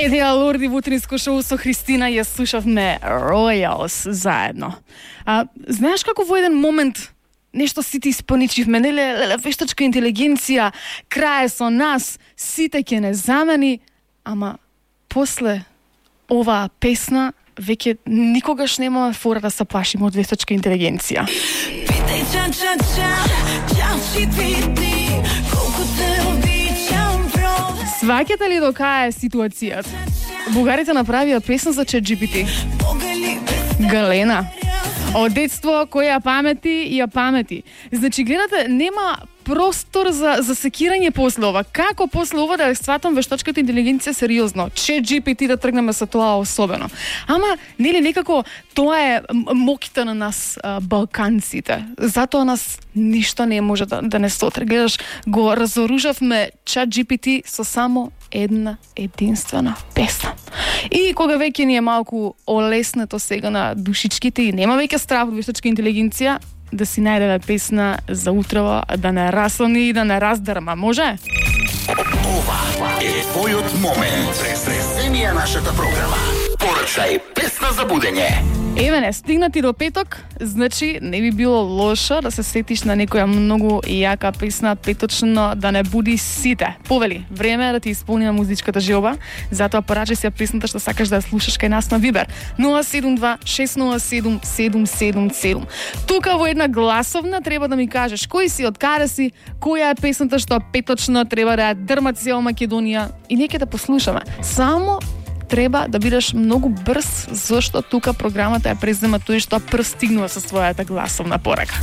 Еве Лорди в утринско шоу со Христина ја слушавме Royals заедно. Знаеш како во еден момент нешто сите испоничивме, неле вештачка интелигенција, крај со нас, сите ќе не замени, ама после оваа песна веќе никогаш немаме фора да се плашиме од вештачка интелигенција. Питај Сваќате ли до кај е ситуацијата? Бугарите направија песна за ChatGPT. Галена. Од детство кој ја памети. Значи, гледате, нема простор за секирање после ова. Како после ова да сватам вештачката интелигенција сериозно? ChatGPT да тргнеме со тоа особено. Ама, нели некако тоа е моките на нас балканците. Затоа нас ништо не може да не сотре. Гледаш, го разоружавме ChatGPT со само една единствена песна. И кога веќе ни е малку олеснето сега на душичките и нема веќе страх од вештачка интелигенција, да си најдеме песна за утрева, да не раслани и да не раздрма, може? Ова е твојот момент. Преземија нашата програма. Порачај песна за будење. Еве не, стигнати до петок, значи не би било лошо да се сетиш на некоја многу јака песна, петочно да не буди сите. Повели, време е да ти исполниме музичката желба, затоа порачај си ја песната што сакаш да ја слушаш кај нас на Вибер. 072-607-777. Тука во една гласовна треба да ми кажеш кој си, од каде си, која е песната што петочно треба да ја дрмат цела Македонија и нека да послушаме. Само треба да бидеш многу брз, зашто тука програмата ја презема тој што прстигнува со својата гласовна порака.